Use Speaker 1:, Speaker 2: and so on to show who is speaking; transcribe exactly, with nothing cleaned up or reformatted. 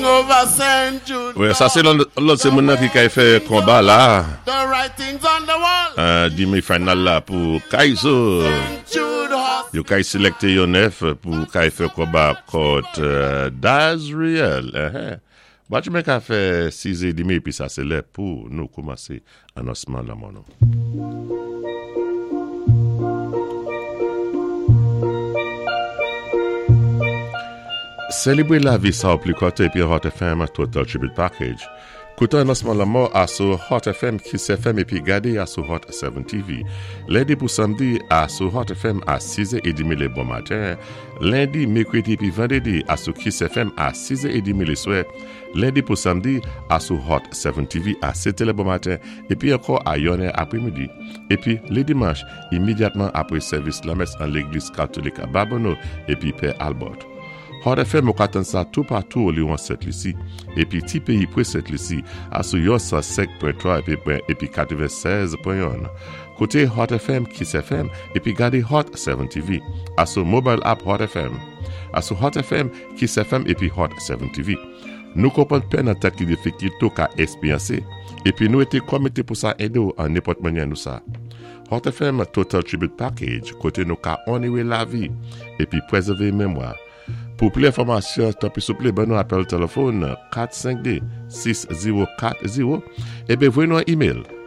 Speaker 1: Over Saint Jude.
Speaker 2: Wè, sa sé lòt sé moun-nan ki kay fè konba la.
Speaker 1: The writings on the wall.
Speaker 2: Euh, dimi final la pou Kaizo.
Speaker 1: Saint Jude Hospital.
Speaker 2: Yo kay sélèkté yon nèf pou kay fè konba kont euh, Dazriel. Uh-huh. Batch men ka fè sizè dimi épi sa sé lè pou nou koumansé anonsman lanmò nou. Sélébré lavi sa ou pli kòté épi Hot F M Total Tribute Package. Kouté anonsman lanmò a sou Hot F M, Kiss F M épi gadé a sou Hot sept T V. Lendi pou samdi a sou Hot F M a sizè trant lé bon maten. Lendi, mèkrèdi épi vandrédi a sou Kiss F M a sizè trant lé swè. Lendi pou samdi a sou Hot sept T V a sèt lé bon maten épi ankò a yonnè apwé midi. Épi lé dimanch, imédyatman apwé sèvis lamès an légliz katolik a Babonneau épi Pè Albert. Hot F M ou ka tann sa tou patou olwon Sent Lisi épi ti péyi pwé Sent Lisi a sou yon san senk pwen twa épi épi katwennsèz pwen youn. Kouté Hot F M, Kiss F M épi gadé Hot sept T V a sou mobile app Hot F M. A sou Hot F M, Kiss F M épi Hot sept T V. Nou konpwann pèn an tan ki difikilté ou ka ékspéryansé épi nou été komité pou sa édé ou an nenpòt mannyè nou sa. Hot F M Total Tribute Package, koté nou ka onoré lavi épi pwézèvé mémwa. Pou plis enfòmasyon, tanpwi souplé, ban nou apèl téléfòn kat senk de sis zewo kat zewo ébyen voyé nou an email.